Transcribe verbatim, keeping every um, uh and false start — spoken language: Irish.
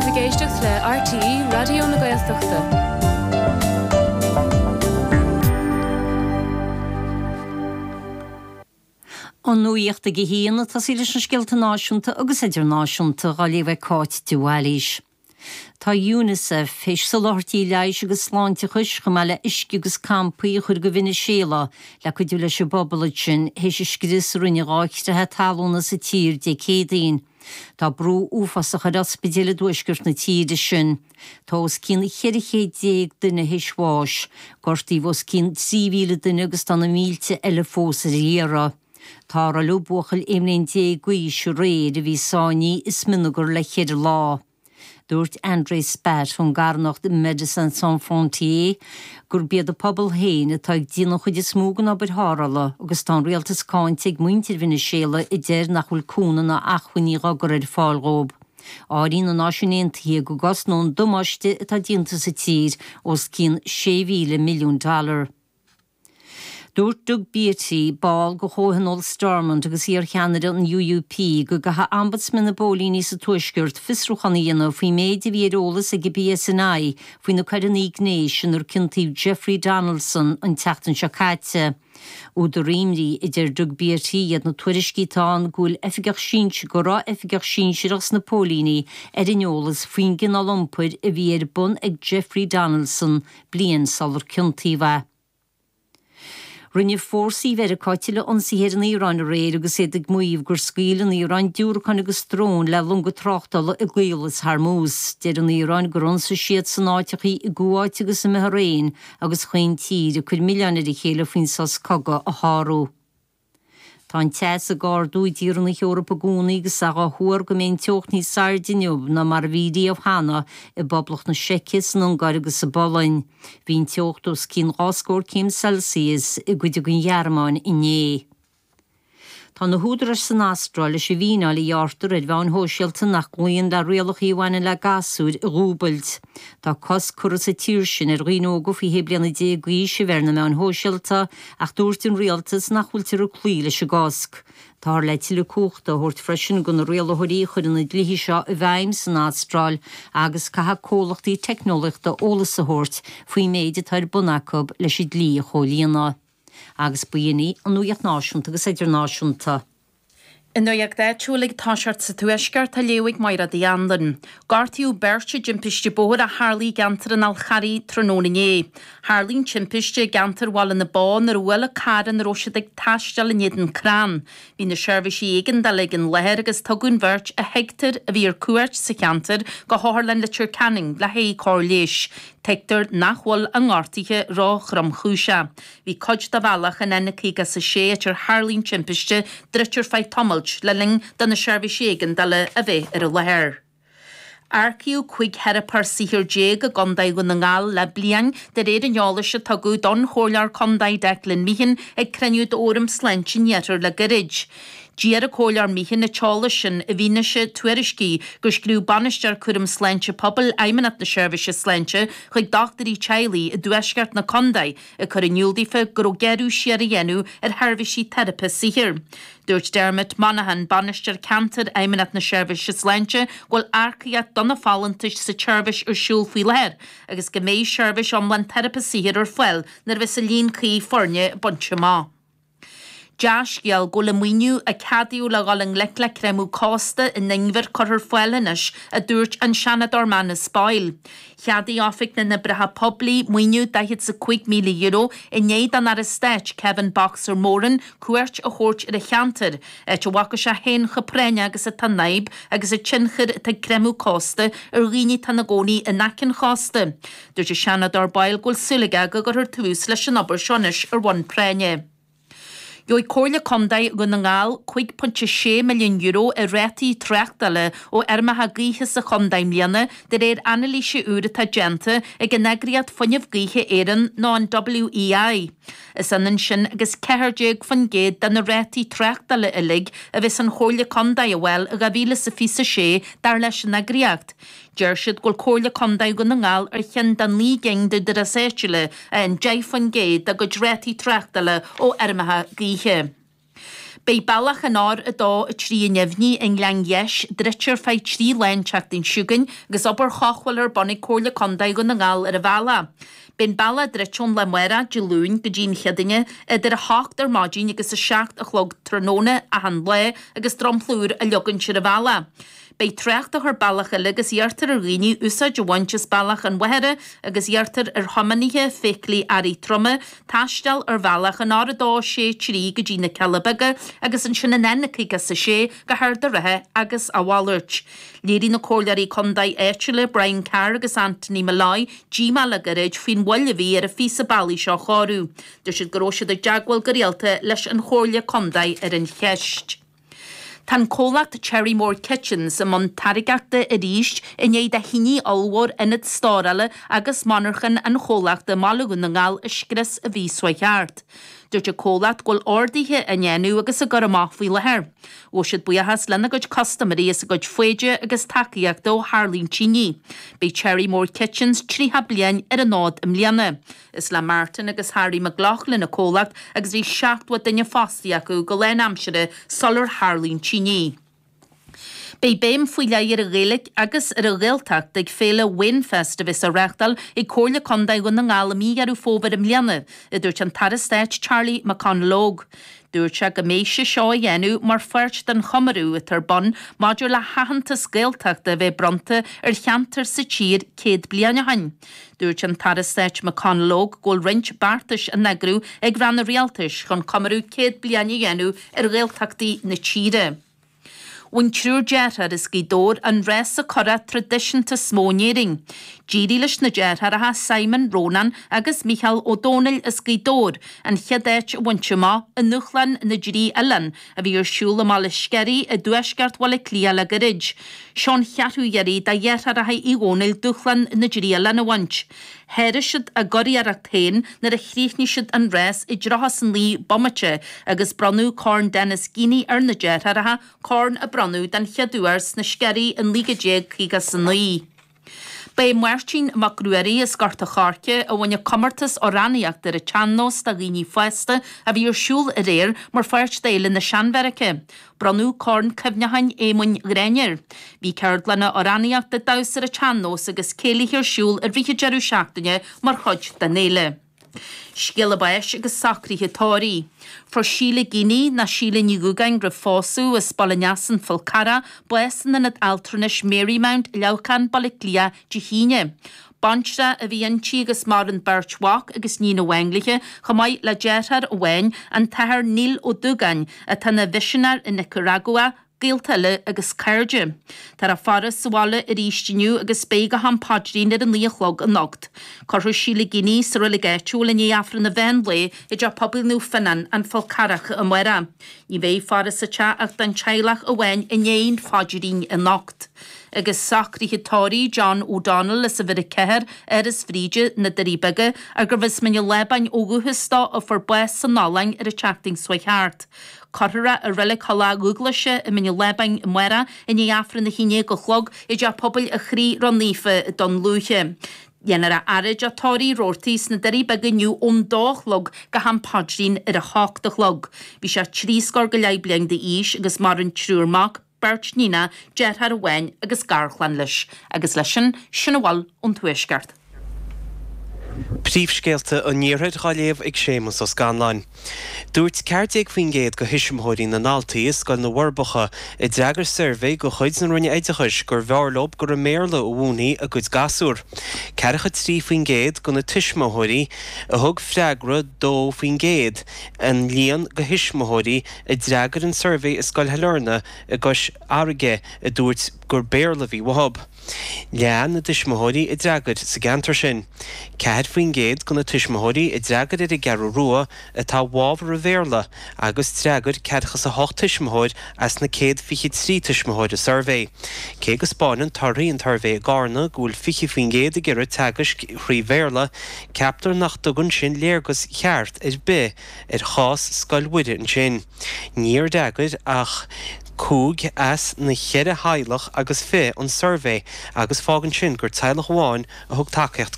sibh ag éisteacht le RTÉ Raidió na Gaeltachta. An nuacht ag a haon ag tosaí leis na scéalta náisiúnta agus idirnáisiúnta á léamh ag Cáit de Bhailís. Tá UNICEF théis soláthairtí leighis agus sláinteachais chomh maith le uisce agus campaí a chur go Veiniséala le cuidiú leis an bpobal ansin théis an scrios a rinne dhá chreathadh talún sa tír Dé Céadaoin. Tá brú uafásach ar ospidéil i dtuaisceart na tíre sin. Tá os cionn ceithre chéad déag duine théis bháis, gortaíodh os cionn trí mhíle duine agus tá na mílte eile fós ar iarraidh. Tarrtháladh buachaill aon bhliain déag d'aois aréir a bhí sáinnithe i smionagar le ceithre lá. Dúirt André Spatt ón gcarthanacht Médecins Sans Frontières gurb iad an pobal féin atá ag déanamh an chuid is mó den obair tharrthála agus tá an rialtas cáinte ag muintir Veiniséala a deir nach bhfuil cúnamh ná acmhainní á gcur ar fáil dhóibh. Áiríonn na Náisiúin Aontaithe go gcosnóidh an damáiste atá déanta sa tír os cionn sé mhíle milliún dollar. Dúirt Doug Beattie, ball de Chomhthionól Stormont agus iar-cheannaire an UUP, go gcaithfidh Ombudsman na bPóilíní sa Tuaisceart fiosrúchán a dhéanamh faoin méid a bhí ar eolas ag an PSNI faoi na coireanna gnéis inar ciontaíodh Jeffrey Donaldson an tseachtain seo caite. Údar imní a deir Doug Beattie iad na tuairiscí atá ann go bhfuil oifigeach sinsear go raibh oifigeach sinsearach sna póilíní ar an eolas faoin gcineál iompair a bhí ar bun ag Jeffrey Donaldson bliain sular ciontaíodh é. Rinne fórsaí Mheiriceá tuilleadh ionsaithe ar an Iaráin aréir agus iad ag maíomh gur scaoil an Iaráin diúracáin agus dróin le longa tráchtála i gCaolas Hormuz. Deir an Iaráin gur ionsaigh siad san áiteachaí i gCuáit agus i mBahrain agus chaon tír ag cur milleáin ar a chéile faoin sos cogaidh a shárú. Tá an teas ag ardú i dtíortha na hEorpa i gcónaí agus é á thuar go mbeidh an teocht níos airde inniu ná mar a bhí riamh cheana i bPoblacht na Seice, san Ungáir agus sa bPolainn. Bhí an teocht os cionn dhá scór céim Celsius i gcuid den Ghearmáin inné. Tá na húdaráis san Astráil leis an bhfíneáil a ghearrtar ar mheáin shóisialta nach gcloíonn le rialacha a bhaineann le gasúir a dhúbailt. Tá cosc curtha sa tír sin ar dhaoine óga faoi shé bliana déag d'aois a bheith ar na meáin shóisialta ach dúirt an rialtas nach bhfuiltear ag cloí leis an gcosc. Táthar le tuilleadh cumhachta a thabhairt freisin do na rialaitheoirí a chuireann na dlíthe seo i bhfeidhm san Astráil agus caithfidh comhlachtaí teicneolaíochta eolas a thabhairt faoin méid atá ar bun acu leis an dlí a chomhlíonadh. Agus b'in í an nuacht náisiúnta agus idirnáisiúnta. An nuacht áitiúil ag toiseacht sa Tuaisceart á léamh ag Máire Uí Anluain. Gortaíodh beirt i dtimpiste bóthair a tharla i gceantar an Fhál Charraigh tráthnóna inné. Tharla an timpiste i gceantar Bhaile na Bó nuair a bhuail carr ina raibh siad ag taisteal in éadan crann. Bhí na seirbhísí éigeandála ag an láthair agus tugadh an bheirt a thuigtear a bhí ar cuairt sa cheantar go hOtharlann Leitir Ceanainn le haghaidh cóir leighis. Tuigtear nach bhfuil a ngortuithe ró-thromchúiseach. Bhí cuid de bhealach an N caoga is a sé áit ar tharla an timpiste druidte ar feadh tamaill le linn do na seirbhísí éigeandála a bheith ar an láthair. Earcaíodh cúig theiripeoir saothair déag i gContae Dhún na nGall le bliain de réir an eolais a tugadh don Chomhairleoir Contae Declan Meehan ag cruinniú d'Fhóram Sláinte an Iarthair le gairid. D'iarr an Comhairleoir Meehan an t-eolas sin i bhfianaise tuairiscí gur scríobh Bainisteoir Cúram Sláinte Pobail Fheidhmeannacht na Seirbhíse Sláinte chuig dochtúirí teaghlaigh i dtuaisceart na contae ag cur in iúl daofa go raibh gearradh siar á dhéanamh ar sheirbhísí teiripe saothair. Dúirt Dermot Monaghan, Bainisteoir Ceantair Fheidhmeannacht na Seirbhíse Sláinte, go bhfuil earcaíocht do na folúntais sa tseirbhís ar siúl faoi láthair agus go mbeidh seirbhís iomlán teiripe saothair ar fáil nuair a bheas an líon cuí foirne bainte amach. Dea-scéal go bhfuil an maoiniú a ceadaíodh le dhul i ngleic le creimeadh cósta in Inbhir curtha ar fáil anois, a dúirt an Seanadóir Manus Boyle. Cheadaigh Oifig na nOibreacha Poiblí maoiniú daichead is a cúig míle euro i ndiaidh don Aire Stáit Kevin Boxer Moran cuairt a thabhairt ar an cheantar, áit a bhfaca sé féin chomh práinneach agus atá an fhadhb agus an tionchar atá ag creimeadh cósta ar dhaoine atá ina gcónaí in aice an chósta. Dúirt an Seanadóir Boyle go bhfuil súil aige go gcuirfear tús leis an obair seo anois ar bhonn práinne. Gheobhaidh Comhairle Contae Dhún na nGall cúig pointe sé milliún euro i rátaí tráchtála ó fheirmeacha gaoithe sa chontae i mbliana de réir anailíse úr atá déanta ag an eagraíocht Fuinneamh Gaoithe Éireann nó an WEI. Is ionann sin agus ceathair déag faoin gcéad de na rátaí tráchtála uilig a bheas an Chomhairle Contae a fháil i dhá mhíle is a fiche a sé dar leis an eagraíocht. Deir siad go bhfuil Comhairle Contae Dhún na nGall ar cheann de naoi gcinn d'údaráis áitiúla a fhaigheann deich faoin gcéad dá gcuid rátaí tráchtála ó fheirmeacha gaoithe. Beidh bealach an R a dó a trí i nDuibhní i nGleann Gheis druidte ar feadh trí lá an tseachtain seo chugainn agus obair chothabhála ar bun ag Comhairle Contae Dhún na nGall ar an bhealach. Beidh an bealach druidte ón lá amárach, Dé Luain, go dtí an Chéadaoine idir a hocht ar maidin agus a seacht a chlog tráthnóna achan lá agus dromchla úr á leagaint ar an bhealach. Beidh trácht á chur bealach eile agus iarrtar ar dhaoine úsáid a bhaint as bealach an Mhachaire agus iarrtar ar thiománaithe feithiclí earraí troma taisteal ar bhealach an R a dó sé trí go dtí na Cealla Beaga agus ansin an N caoga is a sé go hArd an Rátha agus a mhalairt. Léirigh na comhairleoirí contae áitiúla Brian Carr agus Anthony Molloy díomá le gairid faoin mhoill a bhí ar an phíosa bealaigh seo a chóiriú. Dúirt siad go raibh siad i dteagmháil go rialta leis an Chomhairle Contae ar an cheist. Tá an comhlacht Cherrymore Kitchens i mbun táirgeachta arís i ndiaidh do thine ollmhór ionad stórála agus monarchan an chomhlachta i mBaile Dhún na nGall a scrios an mhí seo thart. Dúirt an comhlacht go bhfuil orduithe á ndéanamh agus á gcur amach faoi láthair. Ghabh siad buíochas lena gcuid custaiméirí as a gcuid foighde agus tacaíochta ó tharla an tine. Beidh Cherrymore Kitchens tríocha bliain ar an fhód i mbliana. Is le Martin agus Harry McLaughlin an comhlacht agus bhí seachtó duine fostaithe acu go lánaimseartha sular tharla an tine. Beidh béim faoi leith ar an Ghaeilge agus ar an Ghaeltacht ag féile Wainfest a bheas á reáchtáil ag Comhairle Contae Dhún na nGall i mí Dheireadh Fómhair i mbliana, a dúirt an tAire Stáit Charlie McConalogue. Dúirt sé go mbeidh sé seo á dhéanamh mar pháirt den chomóradh atá ar bun maidir le haitheantas Gaeltachta a bheith bronnta ar cheantar sa tír céad bliain ó shin. Dúirt an tAire Stáit McConalogue go bhfuil roinnt beartais á n-eagrú ag ranna rialtais chun comóradh céad bliain a dhéanamh ar Ghaeltachtaí na tíre. Bhain triúr deartháir as Gaoth Dobhair an rása curach traidisiúnta is mó in Éirinn. D'éirigh leis na deartháireacha Simon, Rónán agus Mícheál Ó Domhnaill as Gaoth Dobhair an chéad áit a bhaint amach i nDúshlán na dTrí Oileán a bhí ar siúl i mBaile Sceirí i dtuaisceart Bhaile Átha Cliath le gairid. Seo an cheathrú iarraidh do dheartháireacha Uí Dhomhnaill Dúshlán na dTrí Oileán a bhaint. Sháraigh siad a gcuriarracht féin nuair a chríochnaigh siad an rás i dtríocha is a naoi bomaite agus bronnadh Corn Denis Geaney ar na deartháireacha, corn a bronnadh den chéad uair sna Sceirí in naoi déag caoga is a naoi. Ba é Máirtín Mac Ruairí as Gort a' Choirce a bhain an comórtas amhránaíochta ar an tsean-nós do dhaoine fásta a bhí ar siúl aréir mar pháirt d'Fhéile na Seanbheairice. Bronnadh Corn Cuimhneacháin Éamoinn Ghráinne air. Bhí ceardlanna amhránaíochta, damhsa ar an tsean-nós agus céilithe ar siúl i rith an deireadh seachtaine mar chuid den fhéile. Scéala báis agus socruithe tórraimh. Fuair Síle Geaney, nó Síle Ní Dhúgáin roimh phósadh, as Baile an Easa, An Fál Carrach, bás in Ionad Altranais Marymount, Leamhcán, Baile Átha Cliath, Dé hAoine. Baintreach a bhí inti agus maireann beirt mhac agus níon amháin léi, chomh maith le deartháir amháin, an tAthair Neil Ó Dúgáin, atá ina mhisinéir i Nicearagua, gaolta eile agus cairde. Táthar á faire sa bhaile arís inniu agus beidh go ham paidrín ar a naoi a chlog anocht. Cuirfear Síle Geaney sa reilig áitiúil i ndiaidh Aifreann an mheán lae i dTeach Pobail Naomh Fionnán, An Fál Carrach amárach. Ní bheidh faire sa teach ach don teaghlach amháin i ndiaidh an phaidrín anocht. Agus socruithe tórraimh John O'Donnell as uimhir a ceathair, Áras Bhríde, na Doirí Beaga, gurbh as Mín an Lábáin ó dhúchas dó a fuair bás san Ollainn ar an tseachtain seo thart. Cuirfear é i Reilig Thulach Dhúghlaise i Mín an Lábáin amárach i ndiaidh Aifreann a haon déag a chlog i dTeach Pobail an Chroí Ró-Naofa i dTonn Lúiche. Dhéanfar a fhaire i dTeach Tórraimh Roarty sna Doirí Beaga inniu ón dó a chlog go ham paidrín ar a hocht a chlog. Bhí sé trí scór go leith bliain d'aois agus maireann triúr mac, beirt níonacha, deartháir amháin agus garchlann leis. Agus leis sin, sin a bhfuil ón Tuaisceart. Príomhscéalta an Iarthair á léamh ag Séamus Ó Scanláin. Dúirt ceathair déag faoin gcéad de thuismitheoirí na ndaltaí i Scoil na bhForbacha a d'fhreagair suirbhé de chuid na Roinne Oideachais gurbh fhearr leo gur i mBéarla a mhúinfí a gcuid gasúr. Ceathracha trí faoin gcéad de na tuismitheoirí a thug freagra dó faoin gcéad an líon de thuismitheoirí a d'fhreagair an suirbhé i Scoil Shailearna i gCois Fharraige a dúirt gur Béarla a bhí uathu. Leath na dtuismitheoirí a d'fhreagair sa gceantar sin. Ceathair faoin gcéad de na tuismitheoirí a d'fhreagair ar an gCeathrú Rua atá i bhfabhar an Bhéarla agus d'fhreagair ceathracha is a hocht tuismitheoir as na céad fiche trí tuismitheoir a suirbhé. Cé go spáineann torthaí an tsuirbhé i gCarna go bhfuil fiche faoin gcéad ag iarraidh teagaisc thrí Bhéarla, ceaptar nach dtugann sin léargas cheart ar bith ar chás Scoil Mhuire ansin. Níor fhreagair ach cúig as na ceithre theaghlach agus fiche an suirbhé agus fágann sin gur teaghlach amháin a thug tacaíocht